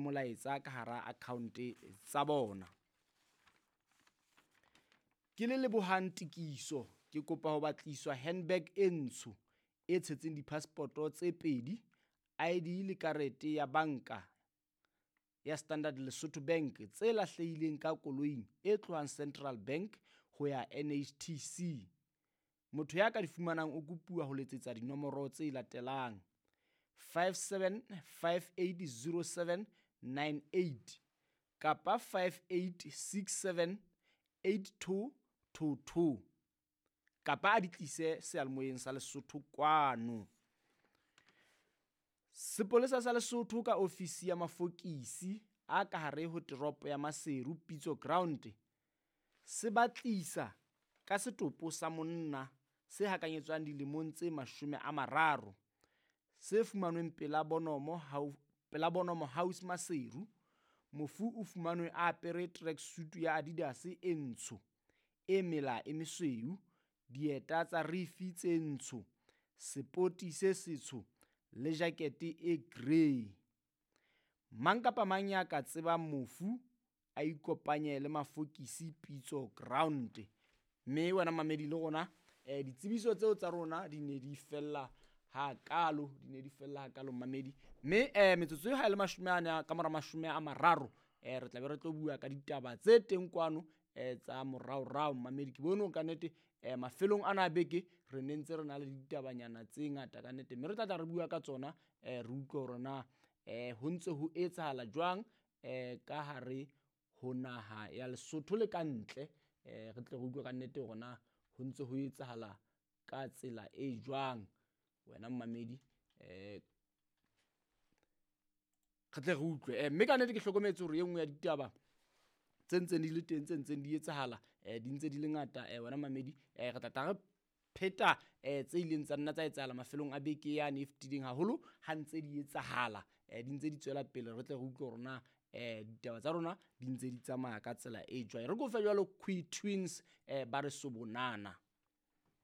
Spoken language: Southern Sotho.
molaetsa ka hara account tsa bona. Ke le Lebohang Tikiso, ke kopa ho batliswa handbag e ntsho e tshetseng di-passport-o tse pedi, ID le karete ya banka ya Standard Lesotho Bank tse lahlehileng ka koloing e tlohang Central Bank ho ya NHTC. Motho ya ka di fumanang o kopuwa ho letsetsa dinomoro tse latelang: 57580798 kapa 58678222 kapa a di tlise seyalemoyeng sa Lesotho kwano. Sepolesa sa Lesotho ka ofisi ya mafokisi a ka hare ho teropo ya Maseru Pitso Ground se batlisa ka setopo sa monna se hakanyetswang dilemong tse 30 se fumanweng pela Bonomo pela Bonomo House Maseru. Mofu o fumanwe a apere tracksuit ya Adidas e ntsho e mela e mesweu, dieta tsa rifi tse ntsho, sepoti se setsho le jakete e grey. Mang kapa mang ya ka tsebang mofu a ikopanye le mafokisi Pitso Ground. Mme wena mamedi le rona ditsebiso tseo tsa rona di ne di fella hakalo, di ne di fella hakalo mamedi. Mme metsotso ha e le 40 ka mora 30 re tla be re tlo bua ka ditaba tse teng kwano tsa moraorao mamedi. Ke bone hore ka nnete mafelong ana a beke re ne ntse re na le ditabanyana tse ngata ka nnete, mme re tla tla re bua ka tsona re utlwe hore na ho ntse ho etsahala jwang ka hare ho naha ya Lesotho le ka ntle. Re tle re utlwe ka nnete hore na ho ntse ho etsahala ka tsela e jwang wena mmamedi. Re tle re utlwe mme ka nnete ke hlokometse hore e nngwe ya ditaba tse ntseng di le teng tse ntseng di etsahala di ntse di le ngata wena mamedi. Re tla tla re pheta tse ileng tsa nna tsa etsahala mafelong a beke yane e fetileng haholo ha ntse di etsahala di ntse di tswela pele. Re tle re utlwe hore na ditaba tsa rona di ntse di tsamaya ka tsela e jwang. Re ko fe jwalo Queen Twins ba re sobonana.